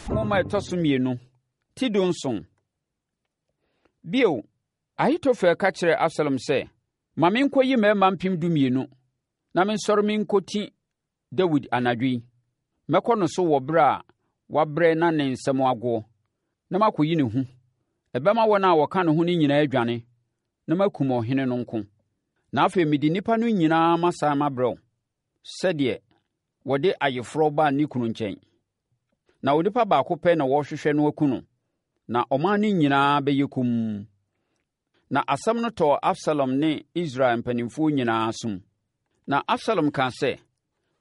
Nwoma a ɛtɔ so mmienu, ti 17. Bio, Ahitofel ka kyerɛɛ Absalom sɛ, Ma menkɔyi mmarima 12,000 na mensɔre menkɔti Dawid anadwo yi. Mɛkɔ no so wɔ berɛ a wabrɛ na ne nsam agoɔ, na makɔyi ne hu. Ɛbɛma wɔn a wɔka ne ho no nyinaa adwane, na makum ɔhene no nko. Na afei mede nnipa no nyinaa masane mabrɛ wo, sɛdeɛ wɔde ayeforɔ ba ne kunu nkyɛn. Na onipa baako pɛ na wɔrehwehwɛ no aku no, na ɔman no nyinaa bɛyɛ komm. Na asɛm no tɔɔ Absalom ne Israel mpanimfoɔ nyinaa asom. Na Absalom kaa sɛ,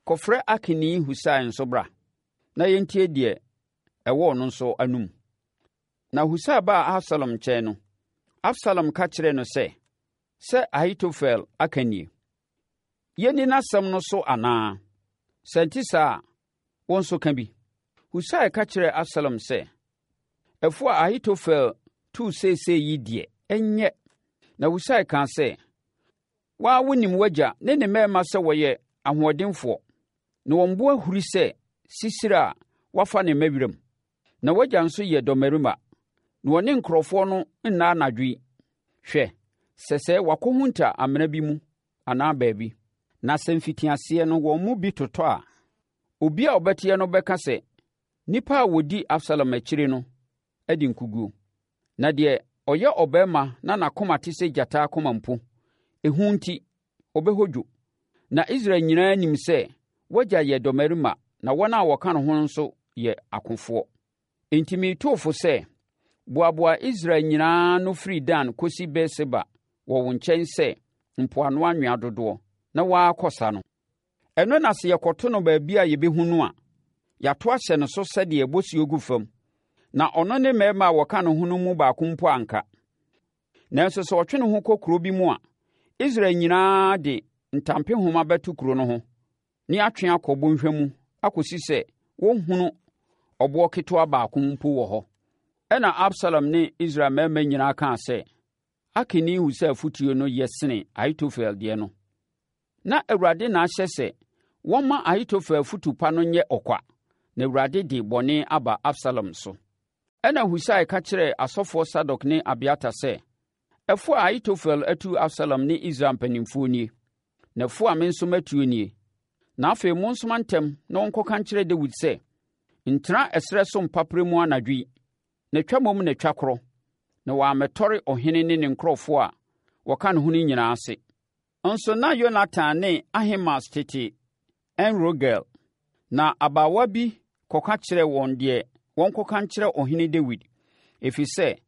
Kɔfrɛ Arkini Husai nso bra, na yɛntie deɛ ɛwɔ ɔno nso anom. Na Husai baa Absalom nkyɛn no, Absalom ka kyerɛɛ no sɛ, Sɛ Ahitofel aka nie. Yɛnni n'asɛm no so anaa? Sɛ ɛnte saa a, wo nso ka bi. Husai ka kyerɛɛ Absalom sɛ, Ɛfo a Ahitofel tuu seesei yi deɛ, ɛnyɛ. Na Husai kaa sɛ, Wo ara wonim w'agya ne ne mmarima sɛ wɔyɛ ahoɔdenfoɔ, na wɔn bo ahuri sɛ sisire a wɔafa ne mma wiram. Na w'agya nso yɛ dɔmmarima, na ɔne nkurɔfoɔ no nna anadwo yi. Hwɛ, sɛsɛɛ wakɔhunta amena bi mu anaa baabi. Na sɛ mfitiaseɛ no wɔn mu bi totɔ a, obi a ɔbɛteɛ no bɛka sɛ, 'Nnipa a wɔdi Absalom akyire no adi nkoguo.' Na deɛ ɔyɛ ɔbarima na n'akoma te sɛ gyata akoma mpo, ehu nti, ɔbɛhodwo. Na Israel nyinaa nim sɛ w'agya yɛ dɔmmarima na wɔn a wɔka ne ho no nso yɛ akofoɔ. Enti meretu wo fo sɛ, boaboa Israel nyinaa ano firi Dan kɔsi Beer-Seba wɔ wo nkyɛn sɛ mpoano anwea dodoɔ, na wo ara kɔ sa no. Ɛno na sɛ yɛkɔto no baabi a yɛbɛhu no a, yɛato ahyɛ no so sɛdeɛ bosuo gu fam, na ɔno ne mmarima a wɔka ne ho no mu baako mpo anka. Nanso sɛ ɔtwe ne ho kɔ kuro bi mu a, Israel nyinaa de ntampehoma bɛto kuro no ho ne atwe akɔ bɔnhwa mu akɔsi sɛ wɔnhunu ɔboɔ ketewa baako mpo wɔ hɔ. Ɛnna Absalom ne Israel mmarima nyinaa kaa sɛ, Arkini Husai afotuo no yɛ sene Ahitofel deɛ no. Na Awurade na ahyɛ sɛ wɔmma Ahitofel afotu pa no nyɛ ɔkwa, na Awurade de bɔne aba Absalom so. Ɛnna Husai ka kyerɛɛ asɔfoɔ Sadok ne Abiatar sɛ, Ɛfo a Ahitofel atu Absalom ne Israel mpanimfoɔ nie, na ɛfo a me nso matuo nie. Na afei monsoma ntɛm na wɔnkɔka nkyerɛ Dawid sɛ, 'Ntena ɛserɛ so mpaperɛ mu anadwo yi, na twa mmom na twa korɔ, na wɔammɛtɔre ɔhene ne ne nkurɔfoɔ a wɔka ne ho no nyinaa ase. Nso na Yonatan ne Ahimaas tete En-Rogel. Na abaawa bi kɔka kyerɛɛ wɔn deɛ wɔnkɔka nkyerɛ ɔhene Dawid, ɛfiri sɛ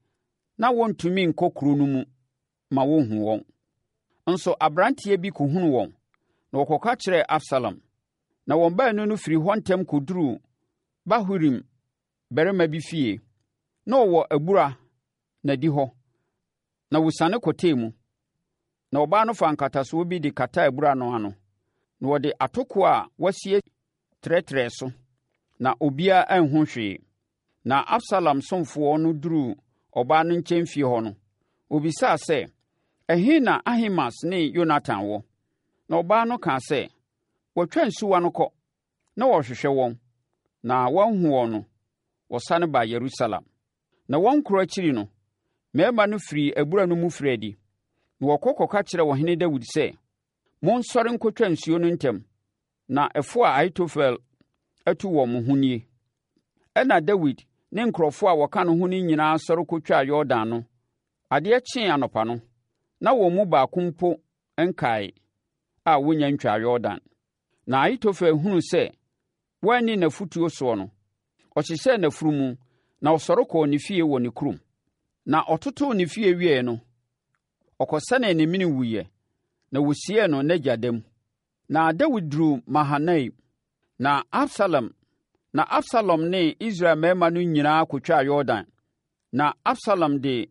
na wɔntumi nkɔ kuro no mu ma wɔnhu wɔn. Nso aberanteɛ bi kɔhunuu wɔn, na ɔkɔka kyerɛɛ Absalom. Na wɔn baanu no firii hɔ ntɛm kɔduruu Bahurim barima bi fie. Na ɔwɔ abura n'adihɔ, na wɔsiane kɔtɛɛ mu. Na ɔbaa no faa nkatasoɔ bi de kataa abura no ano, na wɔde atokoɔ a wɔasie trɛtrɛɛ so, na obiara anhu hwee. Na Absalom somfoɔ no duruu ɔbaa no nkyɛn fie hɔ no, ɔbisaa sɛ, Ɛhe na Ahimaas ne Yonatan wɔ? Na ɔbaa no kaa sɛ, Wɔatwa nsuwa no kɔ. Na wɔrehwehwɛ wɔn, na wɔanhu wɔn no, wɔsane baa Yerusalem. Na wɔn korɔ akyiri no, mmarima no firii abura no mu firii adi, na wɔkɔ kɔka kyerɛɛ ɔhene Dawid sɛ, Monsɔre nkɔtwa nsuo no ntɛm, na ɛfo a Ahitofel atu wɔ mo ho nie. Ɛnna Dawid ne nkurɔfoɔ a wɔka ne ho no nyinaa sɔre kɔtwaa Yordan no. Adeɛ kyee anɔpa no, na wɔn mu baako mpo nkae a wɔnnya ntwaa Yordan. Na Ahitofel hunuu sɛ wɔanni n'afotuo soɔ no, ɔhyehyɛɛ n'afunumu, na ɔsɔre kɔɔ ne fie wɔ ne kurom. Na ɔtotoo ne fie wieeɛ no, ɔkɔsɛnee ne mene wuiɛ, na wɔsiee no n'agya da mu. Na Dawid duruu Mahanaim, na Absalom na Absalom ne Israel mmarima no nyinaa kɔtwaa Yordan. Na Absalom de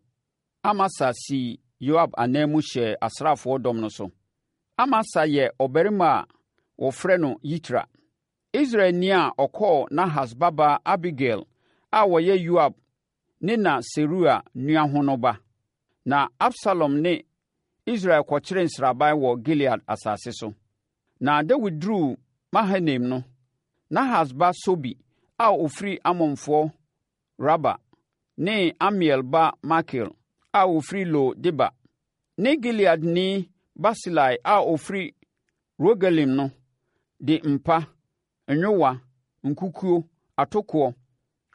Amasa sii Yoab ananmu hyɛɛ asraafoɔ dɔm no so. Amasa yɛ ɔbarima a wɔfrɛ no Yitra, Israelni a ɔkɔɔ Nahas babaa Abigail a ɔyɛ Yoab ne na Seruia nua ho no ba. Na Absalom ne Israel kɔkyeree nsraban wɔ Gilead asase so. Na Dawid duruu Mahanaim no, Nahas ba Sobi a ɔfiri Amonfoɔ Raba ne Amiel ba Makir a ɔfiri Lo-debar ne Gileadni Barsilai a ɔfiri Rogelim no de mpa, nyowa, nkukuo, atokoɔ,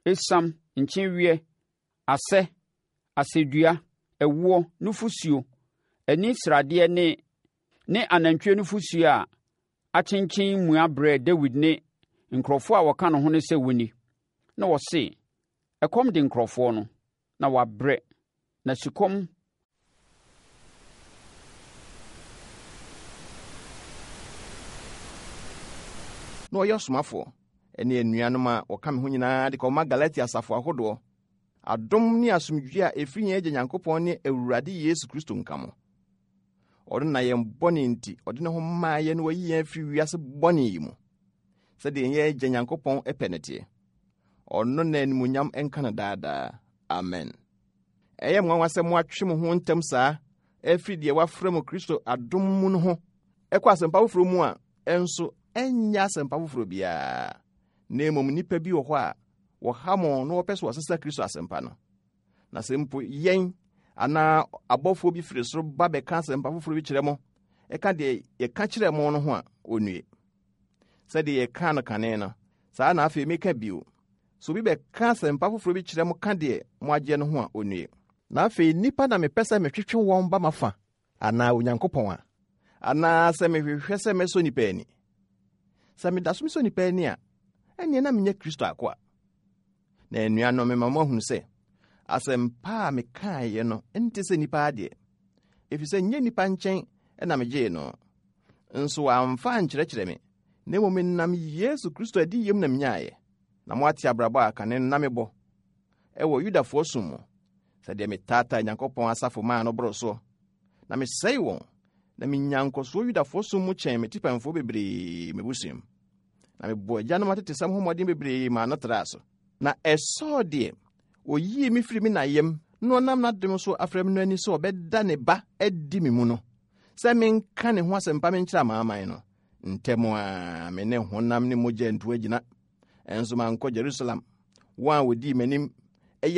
esiam, nkyeweɛ, asɛ, asɛdua, ɛwoɔ, nufosuo, ani sradeɛ ne ne anantwie nufosuo a akyenkyen mua brɛɛ Dawid ne nkurɔfoɔ a wɔka ne ho no sɛ wɔnni. Na wɔse, Ɛkɔm de nkurɔfoɔ no, na wɔabrɛ, na sukɔm Na ɔyɛ ɔsomafoɔ ne anuanom a wɔka me ho nyinaa de kɔma Galatia asafo ahodoɔ. Adom ne asomdwoeɛ a ɛfiri yɛn Agya Nyankopɔn ne Awurade Yesu Kristo nka mo. Ɔno na yɛn bɔne nti ɔde ne ho maa yɛn na wayi yɛn afiri wiase bɔne yi mu, sɛdeɛ yɛn Agya Nyankopɔn pɛ no teɛ. Ɔno na animuonyam nka no daadaa. Amen. Ɛyɛ nwanwa sɛ moatwe mo ho ntɛm saa afiri deɛ wɔafrɛ mo Kristo adom mu no ho ɛkɔ asɛmpa foforɔ mu a ɛnso ɛnyɛ asɛmpa foforɔ biara, na mmom nnipa bi wɔ hɔ a wɔha mo na wɔpɛ sɛ wɔsesa Kristo asɛmpa no. Na sɛ mpo yɛn anaa abɔfoɔ bi firi soro ba bɛka asɛmpa foforɔ bi kyerɛ mo, ɛka deɛ yɛka kyerɛ mo no ho a, ɔnnue. Sɛdeɛ yɛkaa no kane no, saa na afei meka bio. Sɛ obi bɛka asɛmpa foforɔ bi kyerɛ mo ka deɛ moagyeɛ no ho a, ɔnnue. Na afei nnipa na mepɛ sɛ metwetwe wɔn ba m'afa, anaa Onyankopɔn a? Anaa sɛ mehwehwɛ sɛ mɛsɔ nnipa ani? Sɛ meda so mesɔ nnipa ani a, ɛnneɛ na menyɛ Kristo akoa. Na anuanom, mema moahunu sɛ asɛmpa a mekaeɛ no nte sɛ nnipa adeɛ, ɛfiri sɛ nyɛ nnipa nkyɛn na megyee no, nso wɔamfa ankyerɛkyerɛ me, na mmom menam Yesu Kristo adiyam na menyaeɛ. Na moate abrabɔ a kane no na mebɔ wɔ Yudafoɔ som mu, sɛdeɛ metaataa Nyankopɔn asafo maa no boroo soɔ, na mesɛe wɔn, na menya nkɔsoɔ Yudafoɔ som mu kyɛn me tipɛnfoɔ bebree m'abusua mu. Na mebɔɔ agyanom atetesɛm ho mmɔden bebree maa no traa so. Na ɛsɔɔ deɛ ɔyii me firii me na yam na ɔnam n'adom so afrɛ me no ani sɛ ɔbɛda ne ba adi me mu no, sɛ menka ne ho asɛmpa menkyerɛ amanaman no. Ntɛm ara me ne honam ne mogya antu agyina, nso mankɔ Jerusalem. Wɔn a wɔdii m'anim